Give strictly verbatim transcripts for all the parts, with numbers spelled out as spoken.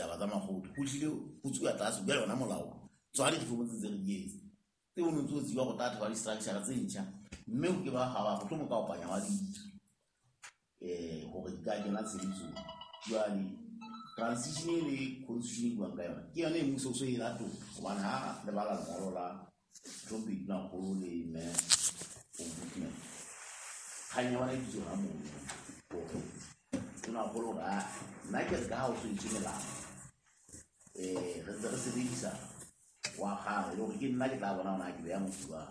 Ditaba tsa makgotla ho tlile ho tsuwa tlase jwale yona molao tswa di-reform tse ntse re di etsa tse o ntse o tseba go tla thola di-structure tse ntjha mme ho ke ba ga ba mohlomong ka kopanya wa ditso um hore di ka kena tshebetsong. Jwale transition e le constitution e buang ka yona ke yone e mmuso o so e latola hobane ha le bala lengolo la Mohlomphehi Tonakgolo le mme Ombudsman kgang ya bona e dutse hona mono hore Tonakgolo hore a nna ke re ka ha o so etswe melao um re ntse re sebedisa wa kgale le hore ke nna ke tla bona hore na ke beha motho jwang.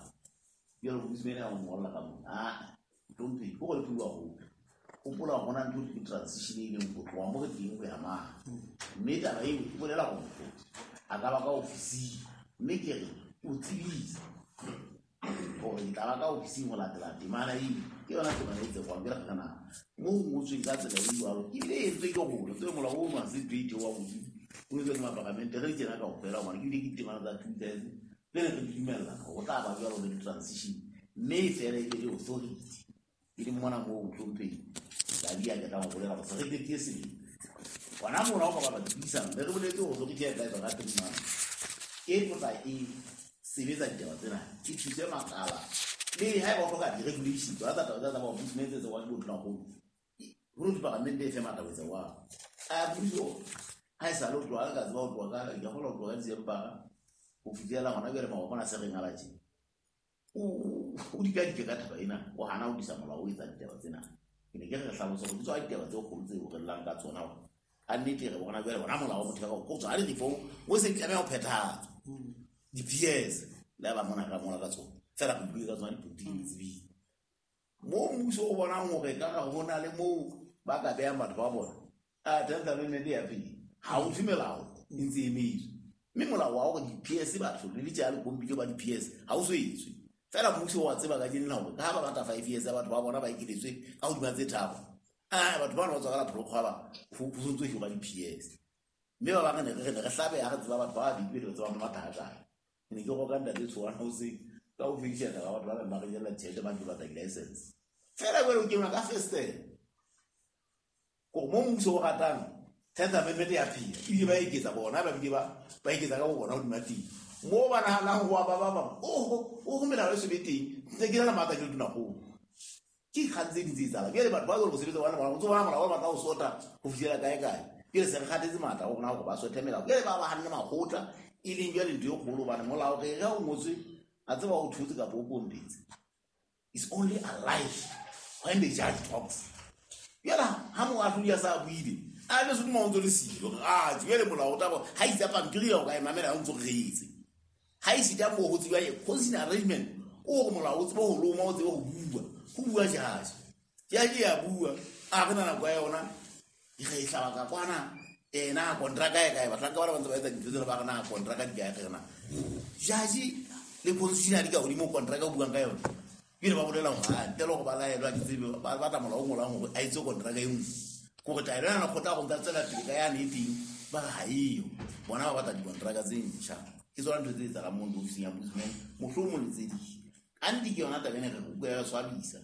Jwale Ombudsman ya mo ngolla ka mona aa Mohlomphehi ke hore le pheuwa hope hopola hore hona ntho ke transition e leng ho tloha mo re teng ho ya mane mme taba eo e bolela hore motho a ka ba ka ofising mme ke re o tsebisa hore ke tla ba ka ofising ho latela temana eo ke yona temana e tsekwang ke re na mo ho ngotsweng ka tsela e jwalo ebile e entswe ke rona tsebe molao ono ha se ntho e theohang hodimo o entswe ke mapalamente re di tsena kaofela hobane ke ebile ke ditemana tsa two thousand tse ne re di dumellana hore ho tla ba jwalo le di-transition mme e fela e be le authority e leng mona moo Mohlomphehi Dali a ke tlang ho bolela hore se re qetile selemo hona mona ho ka bala dipuisano be re boletse hore authority ya tla etswa ka three months e tlotla e sebetsa ditaba tsena e thuse makala le haeba o hloka di-regulation tsona tsa taba tsa tsa ombudsman tse tsewang ke botonakgolo hore dipalamente e fe matla ho etsa jwalo. A puso ha e sale ho tloha ka tseba ho tloha ka ke kgolwa ho tloha ka December ho fihlela hona jwale maobane a se re ngala tje o o dikadike ka taba ena o hana ho tlisa molao o etsa ditaba tsena. Ke ne ke re re hlalose hore ke tsona ditaba tse kgolo tseo re llang ka tsona hore ka nnete re bona jwale hona molao wa motheo o tswa di-reform o se tlameha ho phethahatswa di-P S le ha ba mona ka mona ka tsona fela re bue ka tsona dipolotiki di tsebile moo mmuso o bonang hore ka re ho na le moo ba ka behang batho ba bona a tenth amendment ya pele ha o thwe melao e ntse e emetswe mme molao wa hore di-P S batho le letja le kompile ba di-P S ha o so etswe fela mmuso wa tseba kajeno la hore ka ha ba batla five years ya batho ba bona ba ekeletswe ka hodima tse tharo a batho bana ba tswa ka la pholokgwa ba ho ho ntso hirwa di-P S mme ba bang ne re ne re hlabeha re tseba batho ba babedi be re tseba matha a kae. Ke ne ke roka ntate Tshoana hoseng ka ho fedisa taba batho ba bang ba re jella tjhelete ba ntse batla di-license fela jwale o kenwa ka festere kore mo mmuso o ratang tenth amendment ya phela ebile ba eketsa bona ba bile ba ba eketsa ka bo bona hodima teng moo ba nahanang ho ba ba bang oho oho melao e so be teng ntse ke na le matla ke le tonakgolo ke dikgang tse ding tse etsahalang jwale batho ba jwale ho sebetsa bona molao o ntso bona molao o batla ho sota ho fihlela kae kae jwale se re kgathetse matla ho rona hore ba sothe melao jwale ba ba hanne makgotla e leng jwale ntho e kgolo hobane molao re re ha o ngotswe a tseba o thotse kapa o pompetse is only alive when the judge talks. Jwale ha moahlodi a sa buile a be se o ntso le siyo a jwale molao o tla bo ha itse pampiri ya o ka e mamela o ntso reetse ha e sita moo ho tseba e constitutional arrangement o re molao o tsebe ho loma o tsebe ho bua ho bua judge judge ya bua a re na nako ya yona e re e hlaba ka kwana eh na kontraka e kae bahlanka ba ba ntse ba etsa dintho tsena ba re na kontraka di kae re na judge le constitutional di ka hodimo kontraka o buang ka yona ebile ba bolela hore a ntle le hore ba laelwa ke tsebe ba batla molao o ngolang hore a etse kontraka e nngwe kore taelo ena lekgotla go nka tswela pele ka yane e teng ba re ha eyo bona ba batla dikontraka tse ntjha ke tsona ntho tse etsahalang mo ofising ya ombudsman mohlomong le tse ding ante ke yona taba ena re utlwa ya re swabisa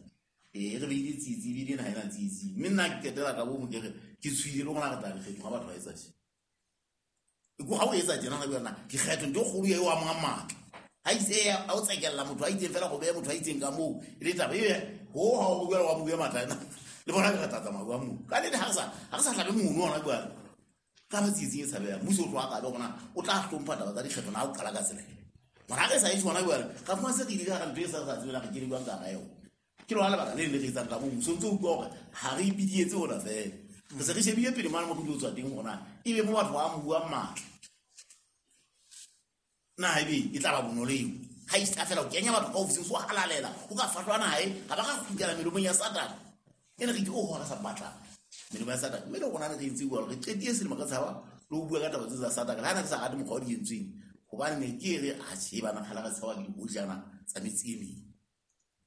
ee re beile tsietsi ebile ena ha ena tsietsi mme nna ke qetela ka bomo ke re ke tshohile le rona re tla dikgetho ha batho ba etsa tje ko ha o etsa tjena na yona dikgetho ntho e kgolo eo amang matla ha itse a o tsekella motho a itseng fela go beha motho a itseng ka moo e le taba e ho ha o bua wa mo bua matla ena le bona ke re tla tsamaya bua moo ka nnete ha re sa ha re sa hlabe mono hona jwale ka ba tsietsing e tshabehang mmuso o tloha kabe hore o tla hlompha taba tsa dikgetho na o qala ka tsela ena mara ha re sa e tjho hona jwale ka fumana se re ile ka hara ntho e sa re sa tsebeng re kene jwang ka hara yona ke lona lebaka le le re etsang ka moo mmuso o ntso utlwa hore ha re ipedietse hona fela re se re shebile pele mane mo re ilo tswa teng hore na ebe mo batho ba buang matla na ebe e tla ba bonolo eo ha e sa fela o kenya batho ka ofising so halalela o ka fahlwa nae ha ba ka kgutlela melomong ya Satane ene re ke o hora sa batla melemo ya Satane mme le rona re entse jwalo re qetile selemo ka tshaba le ho bua ka taba tse tsa Satane le ha ne re sa rate mokgwa o di entsweng hobane ne ke re atjhe bana kgale re tshaba dihojana tsa metse e meng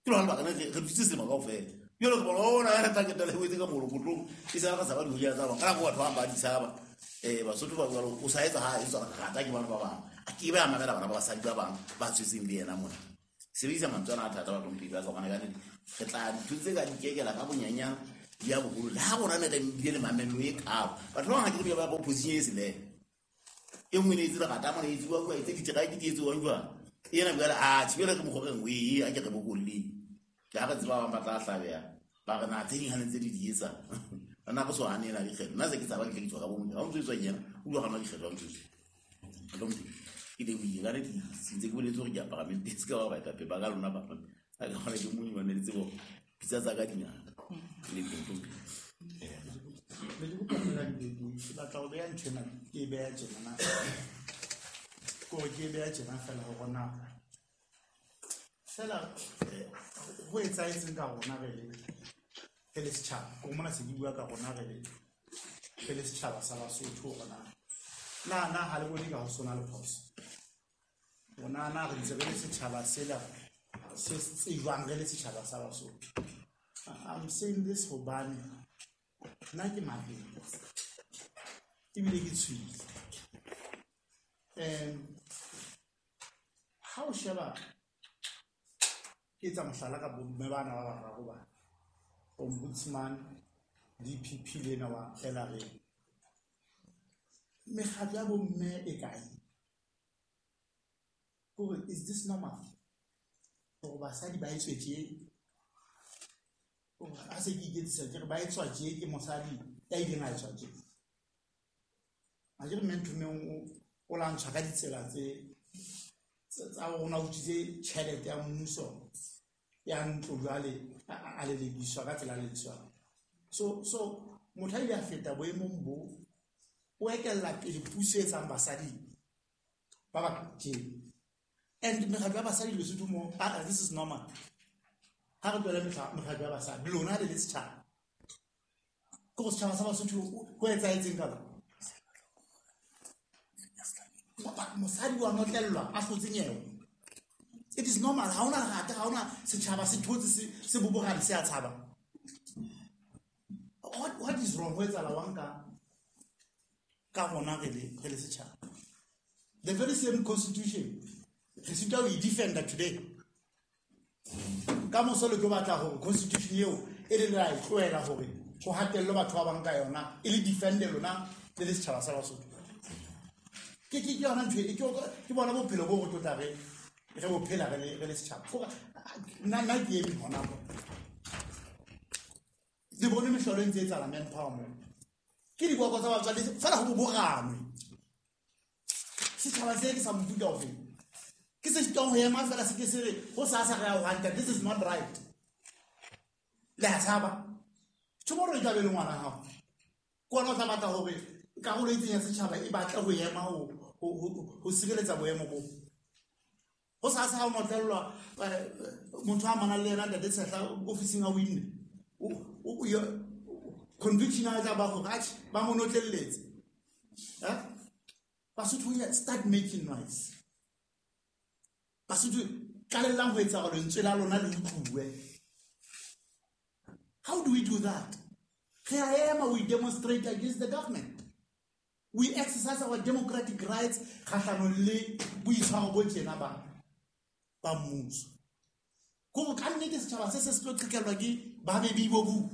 ke lona lebaka ne re dutse selemo kaofela jwale re bona ona re tla ketela e wetse ka molokotlong e sa re tshaba dihojana tsa bona ka nako batho ba bang ba di tshaba um Basotho ba jwalo o sa etsa ha e tswa rata ke bana ba bang a ke be a mamela bana ba basadi ba bang ba tswetseng le yena mona sebedisa mantswe ana a thata ba tlhomphehi ba ka hobane ka nnete re tla dintho tse ka dikekela ka bonyanyana di ya boholo le ha rona ne re bile le mamello e kalo batho ba bang ha ke re ba opposition e selele E nngwe ne e tsela gata mona e tsuwa bua e tse diteraeke di etswang jwang. Ena bua a tshibela ke mokgwa re e a ke re bokolleng. Ke ha re tseba ba bang ba tla hlabeha. Ba re na tse ding ha ntse di di etsa. Nna go so hanela dikgetho. Nna se ke tsaba ke tle ke tswa ka bo motho. Ha o ntso etswa yena, o bua gana dikgetho ha ntso etswa. Hlomphe. Ke lebohile ka nnete ntse ke boletse hore ke apara mente se ka ba baetapele ba ka lona ba. A ka kgona ke mong wa ne le tsebo pitsa tsa ka di ngata. Le hlomphe. Ne ke kopa feela dibeke, ke batla ho beha ntho ena, ke e beha tjena na. Ke hore ke e beha tjena feela hore na feela ho etsahetseng ka rona re le re le setjhaba. Ke mona se ke bua ka rona re le re le setjhaba sa Basotho hore na na na ha le bone ka ho sona le phoso. Rona na re ntse re le setjhaba sela se tsejwang re le setjhaba sa Basotho. I'm saying this hobane nna ke mabedi ebile ke tshwile. Um ha o sheba ke etsa mohlala ka bomme bana ba bararo ba Ombudsman, D P P le ena wa L R A. Mekgatlo ya bomme e kae? Hore is this normal? Hore basadi ba etswe tje? Ha se ke iketsisa ke re ba etswa tje ke mosadi ya ileng a etswa tje. A ke re mme Nthomeng o o lantshwa ka ditsela tse tsa rona o utswitse tjhelete ya mmuso ya ntlo jwale a lelekiswa ka tsela lelekiswang. So so motho a ile a feta boemong bo o etella pele puso e etsang basadi ba ba tje. And mekgatlo ya basadi Lesotho mo, ah, this is normal. Ha re tlohele mekgatlo ya basadi lona le le setjhaba. Ke go setjhaba sa Basotho ho etsahetseng ka lona? Mosadi wa notlellwa a hlotse nyewe. It is normal. Ha hona rata, ha hona setjhaba se thotse se se bobogane se a tshaba. What what is wrong? Ho etsahala wang ka ka rona re le re le setjhaba? The very same constitution re sitwa ho e defender today. Ka moso le tlo batla hore constitution eo e le la e tlohela hore ho hatellwe batho ba bang ka yona e le defend lona le le setjhaba sa Basotho. Ke ke ke yona ntho e ke ke bona bophelo bo re tlotla re re bo phela re le re le setjhaba. Nna nna ke eme hona mo. Le bone mehlolo e ntse e etsahala manpower mo. Ke diboko tsa batswadi fela ho boboganwe. Setjhaba se ke sa mofuta ofe? Ke se sitwang ho ema fela se ke se re ho sa sa re ya ho hanta, this is not right. Le a tshaba. Tomorrow e tla be le ngwana hao. Ke wena o tla batla hore karolo e itseng ya setjhaba e batle ho ema ho ho sireletsa boemo bo. Ho sa sa ha o notlellwa motho a manang le yena ntate Tshehla ofising a winne. O conviction a tla ba hore atjhe ba mo notlelletse. Eh? Basotho start making noise. Basotho qalellang ho etsa hore lentswe la lona le utluwe. How do we do that? Re a ema, we demonstrate against the government. We exercise our democratic rights kgahlanong le boitshwaro bo tjena ba ba mmuso. Ko ka nnete setjhaba se se se tlo qhekellwa ke ba bebi bo bu.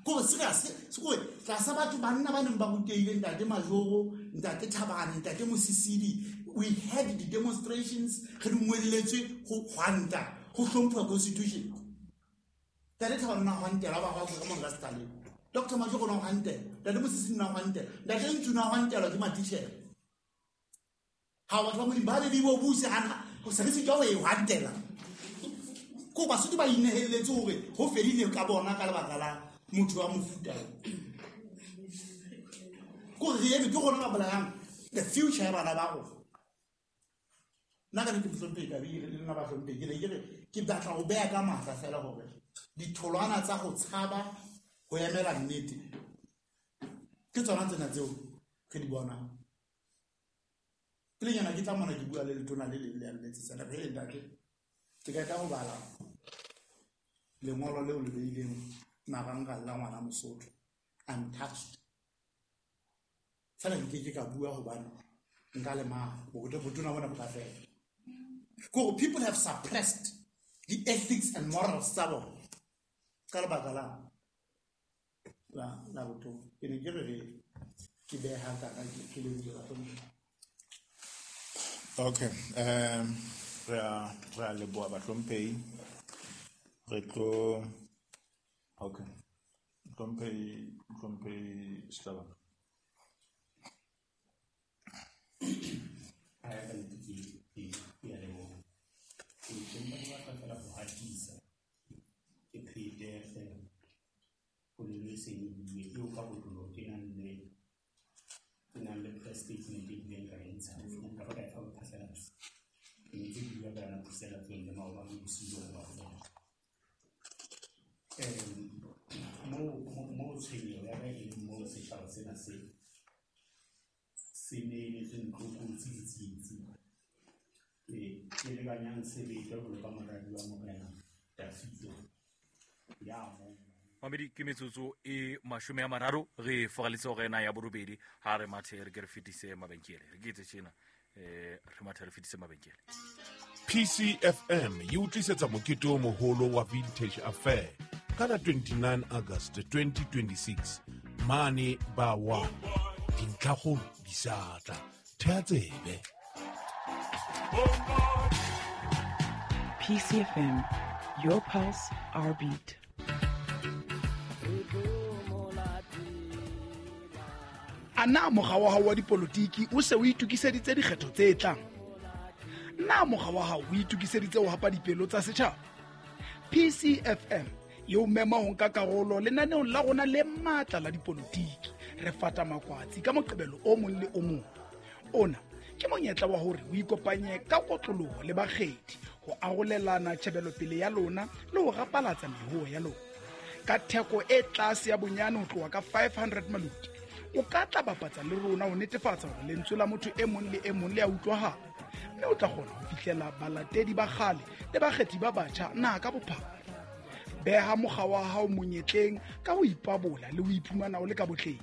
Ko serious, se ko tlasa batho banna ba neng ba rutehile ntate Majoro, ntate Thabane, ntate Mosisili, we had the demonstrations re dumelletswe ho hwanta, ho hlompha constitution. Ntate Thabane na hwantela ba hwa ka monga Stalin. Doctor Majoro na hwantela, ntate Mosisili na hwantela, ntate Ntsu na hwantela ke matitjhere. Ha batho ba Modimo ba le bo buse hana, ho se re se tlo e hwantela. Ko Basotho ba inehelletse hore ho fedile ka bona ka lebaka la motho wa mofuta. Ko re eme ke rona ba bolayang the future ya bana ba rona. Nna ka nnete mohlomphehi ka bile le nna ba hlomphehi ke ne ke re ke batla ho beha ka matla fela hore ditholwana tsa ho tshaba ho emela nnete ke tsona tsena tseo re di bonang. Pelenyana ke tla mona ke bua le letona le leng le a nletsetsa le re ntate ke ka tla ho bala lengolo leo le beileng marangrang la ngwana Mosotho untouched. Fela nke ke ka bua hobane nka lemala botona bona bo ka fela. Ko people have suppressed the ethics and morals tsa bona ka lebaka la la la botona. Ke ne ke re re Ke beha kana ke ke lebohile bahlomphehi. Okay, um re a re a leboha bahlomphehi. Re tlo okay. Hlomphehi Hlomphehi Sehlabano. Ha ya ka nnete ke ke ke a leboha. Ke ke mpa ke batla fela ho hatisa ke phete fela polelo e seng e buile eo ka kotloloho ke nang le ke nang le press statement e bileng ka e ntsha mohlomong ka ba ka e fa bophatlalatsi. Ke ntse ke bua ka yona phuselatsong le maobane bosiu bona kaofela. Um moo moo tshwenyeho ya ka e leng moo setjhaba sena se se neeletsweng tlokotsi le tsietsi. Ke ke lekanyang sebete jwalo ka moradi wa Morena Dafito ya moo. Mamedi ke metsotso e mashome a mararo re foraletse hore ena ya borobedi ha re mathe re ke re fetise mabenkele re ke etse tjena eh re mathe re fetise mabenkele. P C F M e o tlisetsa mokete o moholo wa Vintage Affair ka la twenty-nine August twenty twenty-six mane ba one dintlhakgolo di sa tla thea tsebe. P C F M, your pulse, our beat. A na mokga wa hao wa dipolotiki o se o itokiseditse dikgetho tse tlang? Na mokga wa hao o itokiseditse ho hapa dipelo tsa setjhaba? P C F M e o mema ho nka karolo lenaneong la rona le matla la dipolotiki. Re fata makwatsi ka Moqebelo o mong le o mong. Ona ke monyetla wa hore o ikopanye ka kotloloho le bakgethi ho arolelana tjhebelopele ya lona le ho rapalatsa mehoho ya lona. Ka theko e tlase ya bonyane ho tloha ka five hundred maluti, o ka tla bapatsa le rona ho netefatsa hore lentswe la motho e mong le e mong le a utlwahala, mme o tla kgona ho fihlela balatedi ba kgale le bakgethi ba batjha naha ka bophara. Beha mokga wa hao monyetleng ka ho ipabola le ho iphumana o le ka botleng.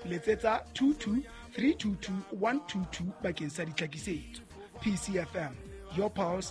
Letsetsa two two three two two one two two bakeng sa ditlhakisetso. P C F M, your pulse,